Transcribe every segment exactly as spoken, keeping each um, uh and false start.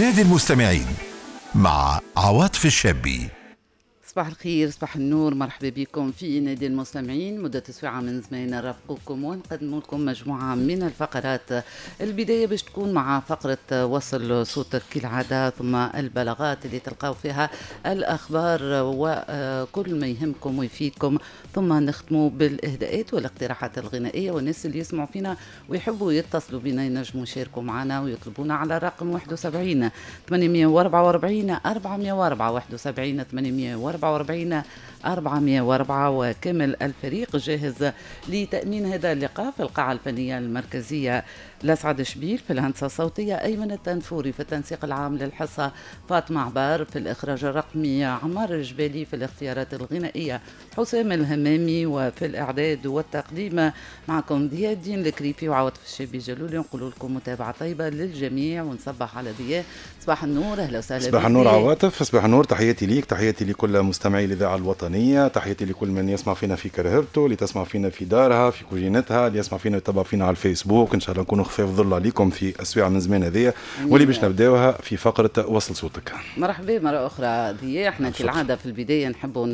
نادي المستمعين مع عواطف الشابي. صباح الخير، صباح النور، مرحبا بكم في نادي المستمعين. مدة ساعة من زمان نرافقكم ونقدم لكم مجموعة من الفقرات. البداية باش تكون مع فقرة وصل صوتك كالعادة، ثم البلاغات اللي تلقاو فيها الأخبار وكل ما يهمكم ويفيدكم، ثم نختموا بالإهداءات والاقتراحات الغنائية، والناس اللي يسمعوا فينا ويحبوا يتصلوا بنا ينجموا يشاركوا معنا ويطلبونا على الرقم واحد وسبعين ثمانمائة وأربعة وأربعين أربعمائة وأربعة، واحد وسبعين ثمانمائة وأربعة وأربعين أربعمائة وأربعة. وكامل الفريق جاهز لتأمين هذا اللقاء في القاعة الفنية المركزية لسعد شبيل، في الهندسة الصوتية أيمن التنفوري، في التنسيق العام للحصة فاطمة عبار، في الإخراج الرقمي عمار الجبالي، في الاختيارات الغنائية حسام الهمامي، وفي الإعداد والتقديم معكم ضياء الدين الكريفي وعواطف الشابي جلولي. نقول لكم متابعة طيبة للجميع ونصبح على ضياء. صباح النور، أهلا وسهلا. صباح النور عواطف، صباح النور، تحياتي ليك، تحياتي لكل مستمعي الإذاعة الوطنية، تحياتي لكل من يسمع فينا في كرهبته، اللي تسمع فينا في دارها، في كوجينتها، اللي يسمع فينا ويتبع فينا على الفيسبوك. إن شاء الله نكونوا خفاف ظل عليكم في السويعة من زمان هذيا، واللي باش نبداوها في فقرة وصل صوتك. مرحبا مرة أخرى ضياء. احنا كالعادة في البداية نحبوا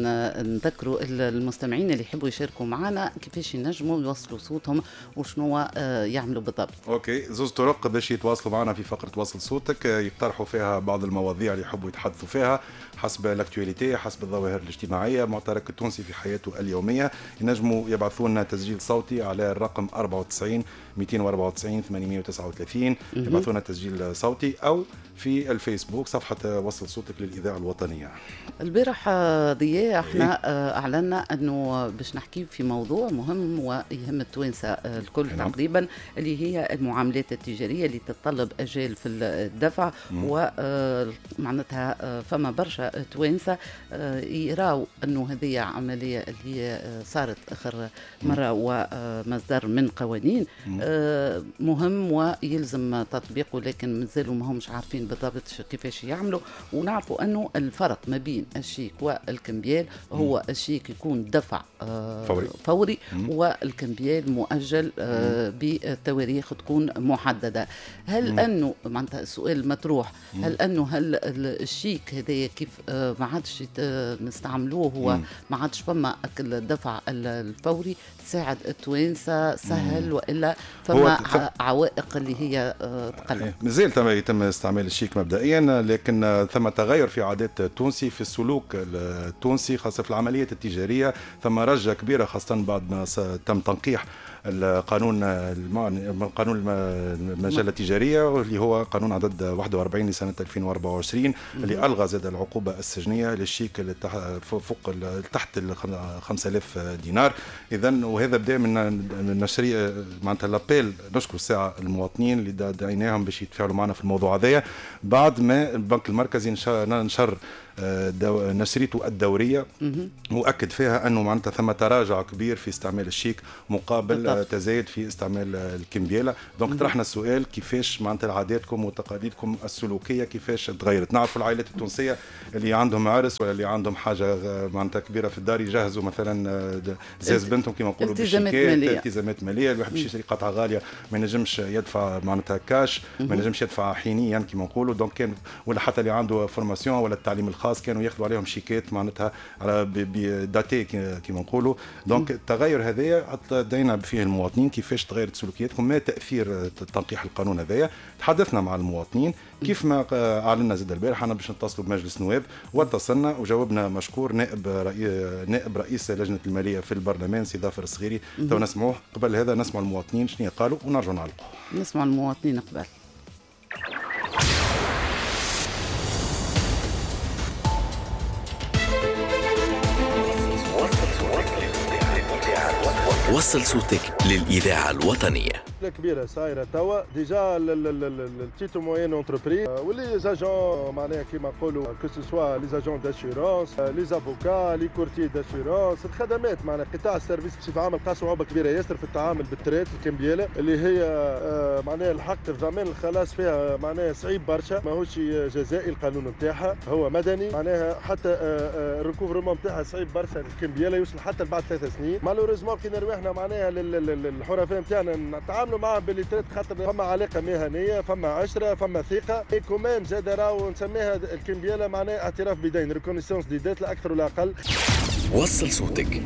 نذكروا المستمعين اللي يحبوا يشاركوا معنا كيفاش ينجموا يوصلوا صوتهم وشنو يعملوا بالضبط. OK، زوز طرق باش يتواصلوا معنا في فقرة وصل صوتك، يقترحوا فيها بعض المواضيع اللي يحبوا يتحدثوا فيها حسب l'actualité، حسب الظواهر الاجتماعية، معترك التونسي في حياته اليومية. ينجموا يبعثوا لنا تسجيل صوتي على الرقم أربعة وتسعين مئتين وأربعة وتسعين ثمانمائة وتسعة وثلاثين، يبعثوا لنا تسجيل صوتي، أو في الفيسبوك صفحة وصل صوتك للإذاعة الوطنية. البارح ضياء احنا أعلنا أنه باش نحكي في موضوع مهم ويهم التوانسة الكل تقريبا، اللي هي المعاملات التجارية اللي تتطلب أجال في الدفع، ومعناتها فما برشا توانسة يراو أنه هذه عملية اللي صارت آخر مرة ومصدر من قوانين مهم ويلزم تطبيقه، لكن مازالوا ما همش عارفين بالضبط كيفاش يعملوا. ونعرفوا أنه الفرق ما بين الشيك والكمبيال هو الشيك يكون دفع فوري, فوري والكمبيال مؤجل بتواريخ تكون محددة. هل أنه معناتها السؤال مطروح، هل أنه هل الشيك هذا كيف ما عادش نستعملوه، هو ما عادش فما الدفع الفوري ساعد التوانسة سهل، وإلا فما عوائق اللي هي تقلق؟ مازال يتم استعمال الشيك مبدئيا، لكن ثم تغير في عادات التونسي، في السلوك التونسي، خاصة في العمليات التجارية. ثم رجة كبيرة خاصة بعد ما تم تنقيح القانون القانون المجلة التجارية، واللي هو قانون عدد واحد وأربعين لسنة ألفين وأربعة وعشرين، اللي ألغى زاد العقوبة السجنية للشيك اللي فوق تحت ال خمسة آلاف دينار. إذا وهذا بدا من نشرية معناتها l'appel. نشكر الساعة المواطنين اللي دعيناهم باش يتفاعلوا معنا في الموضوع هذايا، بعد ما البنك المركزي نشر نشريته الدورية وأكد فيها أنه معناتها ثم تراجع كبير في استعمال الشيك مقابل بالضبط. تزايد في استعمال الكمبيالة. donc طرحنا السؤال كيفاش معناتها عاداتكم وتقاليدكم السلوكية كيفاش تغيرت. نعرفوا العائلات التونسية اللي عندهم عرس ولا اللي عندهم حاجة معناتها كبيرة في الدار يجهزوا مثلا زاز بنتهم كما نقولوا بالشيكات، التزامات مالية. الواحد باش يشري قطعة غالية ما ينجمش يدفع معناتها كاش، ما ينجمش يدفع حينيا كما نقولوا. donc كان ولا حتى اللي عنده formation ولا التعليم الخاص كانوا ياخذوا عليهم شيكات معناتها على datés كما نقولوا. donc التغير هذايا دينا فيه المواطنين كيفاش تغيرت سلوكياتكم، ما تاثير تنقيح القانون هذايا. تحدثنا مع المواطنين كيف ما اعلنا زاد البارح انا باش نتصلوا بمجلس نواب، واتصلنا وجاوبنا مشكور نائب رئي... نائب رئيس لجنة المالية في البرلمان سي ظافر الصغيري. تو نسمعوه. قبل هذا نسمع المواطنين شنو قالوا ونرجعوا نعلقوا. نسمع المواطنين قبل. وصل صوتك للإذاعة الوطنية. كبيرة صايرة توا déjà ال petites moyennes entreprises و les agents معناها كيما نقولوا que ce soit les agents d'assurance، les avocats، les courtiers d'assurance، الخدمات معناها قطاع ال service بصفة عامة لقى صعوبة كبيرة ياسر في التعامل بال traite الكمبياله اللي هي معناها الحق الضمان الخلاص فيها معناها صعيب برشا، ماهوش جزائي القانون نتاعها، هو مدني معناها حتى ال recouvrement نتاعها صعيب برشا. الكمبياله يوصل حتى بعد ثلاث سنين. malheureusement كي نرواحنا معناها للحرفاء نتاعنا نتعاملوا نتعاملوا معاهم بال les traites خاطر فما علاقة مهنيه، فما عشره، فما ثقه. et quand même زاد راهو نسميها الكمبياله معناها اعتراف بدين، reconnaissance des dettes، لا اكثر ولا اقل. وصل صوتك.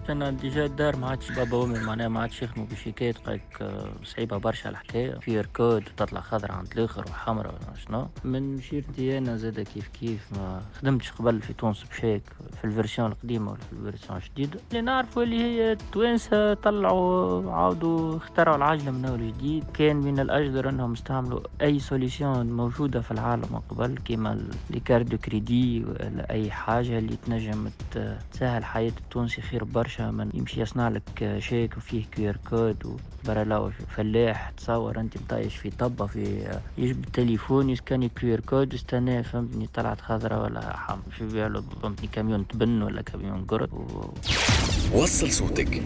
انا déjà الدار ما عادش بابا وامي معناها ما عادش يخدموا بشيكات، قالك آه، صعيبة برشا الحكايه، QR code وتطلع خضرا عند الاخر وحمراء ولا شنو. من شيرتي انا زاد كيف كيف ما خدمتش قبل في تونس بشيك في ال version القديمة ولا في ال version الجديده. اللي نعرفوا اللي هي التوانسة طلعوا عاودوا اخترعوا العجلة من اول جديد. كان من الاجدر انهم استعملوا اي solution موجودة في العالم قبل، كيما les cartes de crédit ولا اي حاجة اللي تنجم تسهل حياة التونسي خير برشا من يمشي يصنع لك شيك وفيه QR code وبرا. فلاح تصور انت مطايش في طبه في يجبد التليفون يسكاني QR code يستناه، فهمتني، طلعت خضراء ولا حم في باله، فهمتني، كاميون تبن ولا كاميون قرد و... وصل صوتك.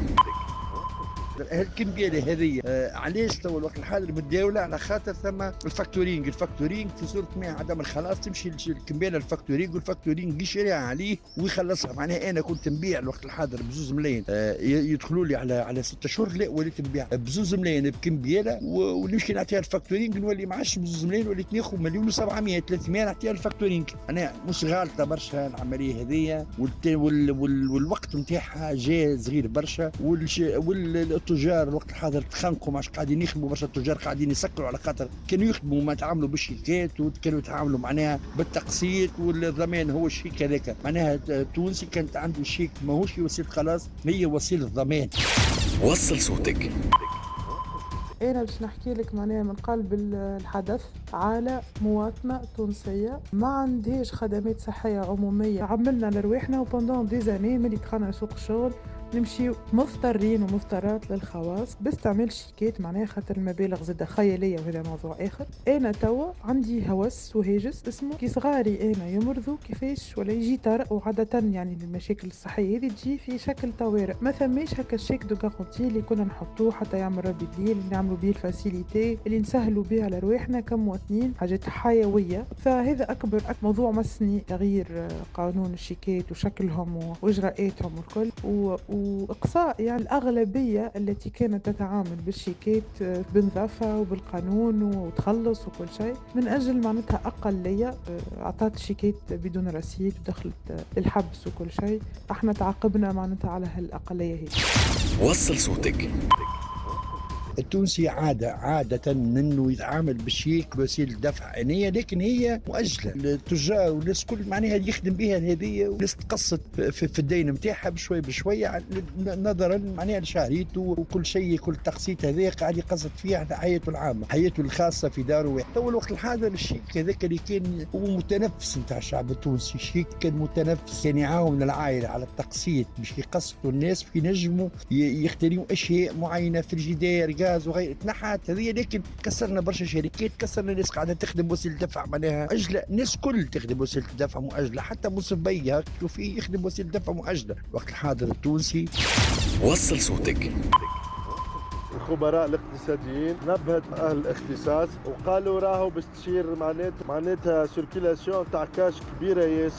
الكمبياله هذه آه علاش تو الوقت الحاضر متداوله؟ على خاطر ثم ال factoring. ال factoring في صوره ما عدم الخلاص تمشي الكمبياله ال factoring، وال factoring يشريها عليه ويخلصها. معناها انا كنت نبيع الوقت الحاضر بزوز ملايين آه يدخلوا لي على على ستة شهور، لا وليت نبيع بزوز ملايين بكمبياله ونمشي نعطيها ال factoring، نولي ما عادش بزوز ملايين، وليت ناخذ مليون وسبعمية ثلاثمية نعطيها ال factoring. انا مش غالطه برشا العملية هذه، وال وال والوقت نتاعها جاء صغير برشا، وال التجار الوقت الحاضر تخنقوا، ما قاعدين يخدموا برشا. التجار قاعدين يسكروا على خاطر كانوا يخدموا ما تعاملوا بالشيكات وكانوا يتعاملوا معناها بالتقسيط والضمان هو الشيك هذاك. معناها التونسي كانت عنده شيك ماهوش وسيلة خلاص، هي وسيلة ضمان. وصل صوتك. أنا باش نحكي لك معناها من قلب الحدث على مواطنة تونسية ما عندهاش خدمات صحية عمومية. عملنا لرواحنا و pendant des années ملي دخلنا سوق الشغل نمشيو مضطرين ومضطرات للخواص باستعمال شيكات، معناها خاطر المبالغ زادة خيالية وهذا موضوع آخر. أنا توا عندي هوس وهاجس اسمه كي صغاري أنا يمرضوا كيفاش ولا يجي طارئ، وعادة يعني المشاكل الصحية هذه تجي في شكل طوارئ، ما ثماش هكا ال chèque de garantie اللي كنا نحطوه حتى يعمل ربي دليل، اللي نعملوا بيه ال facilité اللي نسهلوا بيه على رواحنا كمواطنين حاجات حيوية. فهذا أكبر موضوع مسني، تغيير قانون الشيكات وشكلهم وإجراءاتهم والكل و وإقصاء يعني الأغلبية التي كانت تتعامل بالشيكات بنظافة وبالقانون وتخلص وكل شيء، من أجل معناتها أقلية أعطت شيكات بدون رصيد ودخلت الحبس وكل شيء. احنا تعاقبنا معناتها على هالأقلية هي. وصل صوتك. التونسي عادة عادة انه يتعامل بالشيك وسيلة دفع آنية، لكن هي مؤجلة. التجار والناس كل معناها يخدم بها هذه، والناس تقسط في, في الدين نتاعها بشوي بشوية نظرا معناها لشهريته وكل شيء، كل تقسيط هذا قاعد يقسط فيه على حياته العامة، حياته الخاصة في داره. تو الوقت الحاضر الشيك هذاك اللي كان هو متنفس نتاع الشعب التونسي، الشيك كان متنفس، كان يعاون العائلة على التقسيط باش يقسطوا الناس باش ينجموا يختاروا أشياء معينة في الجدار وغير. تنحت هذه، لكن كسرنا برشا شركات، كسرنا ناس قاعدة تخدم وسيلة دفع معناها اجله، الناس كل تخدم وسيلة دفع مؤجلة، حتى منصف بيه تشوفيه يخدم وسيلة دفع مؤجلة. وقت الحاضر التونسي. وصل صوتك. الخبراء الاقتصاديين نبهت اهل الاختصاص وقالوا راهو باش تصير معناتها معناتها circulation تاع كاش كبيرة ياسر.